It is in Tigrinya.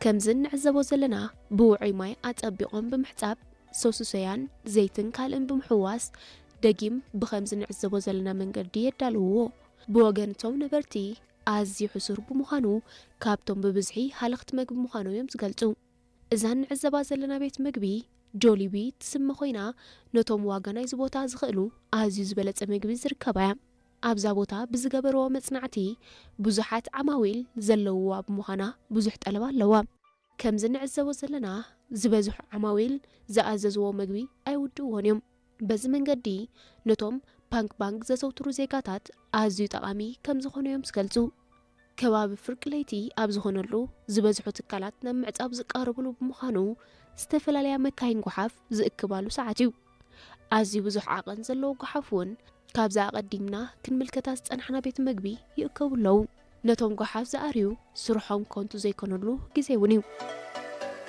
ከምዚ እንዕዘቦ ዘለና ብውዑይ ማይ ኣጸቢቖም ብምሕጻብ፣ ሶስሶያን ዘይትን ካልእን ብምሕዋስ፣ ደጊም ብኸምዚ እንዕዘቦ ዘለና መንገዲ የዳልውዎ። ብወገን እቶም ነበርቲ ኣዝዩ ሕሱር ብምዃኑ፣ ካብቶም ብብዝሒ ሃለኽቲ መግቢ ምዃኖም እዮም ዝገልጹ። እዛ እንዕዘባ ዘለና ቤት መግቢ ጆሊቢ ትስመ ኮይና፣ ነቶም ዋጋ ናይዚ ቦታ ዝኽእሉ ኣዝዩ ዝበለጸ መግቢ ዝርከባ እያ። ኣብዛ ቦታ ብዝገበርዎ መጽናዕቲ፣ ብዙሓት ዓማዊል ዘለውዋ ብምዃና ብዙሕ ጠለብ ኣለዋ። ከምዚ እንዕዘቦ ዘለና፣ ዝበዝሑ ዓማዊል ዝኣዘዝዎ መግቢ ኣይውድእዎን እዮም። በዚ መንገዲ፣ ነቶም ፓንክ ባንክ ዘዘውትሩ ዜጋታት ኣዝዩ ጠቓሚ ከም ዝኾኑ እዮም ዝገልጹ። ከባቢ ፍርቂ ለይቲ ኣብ ዝኾነሉ፣ ዝበዝሑ ትካላት ናብ ምዕጻብ ዝቃረብሉ ብምዃኑ፣ ዝተፈላለያ መካይን ጓሓፍ ዝእክባሉ ሰዓት እዩ። ኣዝዩ ብዙሕ ዓቐን ዘለዎ ጓሓፍ እውን ካብዛ ኣቐዲምና ክንምልከታ ዝጸናሕና ቤት መግቢ ይእከቡ ኣለዉ። ነቶም ጓሓፍ ዝኣርዩ ስርሖም ከንቱ ዘይኮነሉ ግዜ እውን እዩ።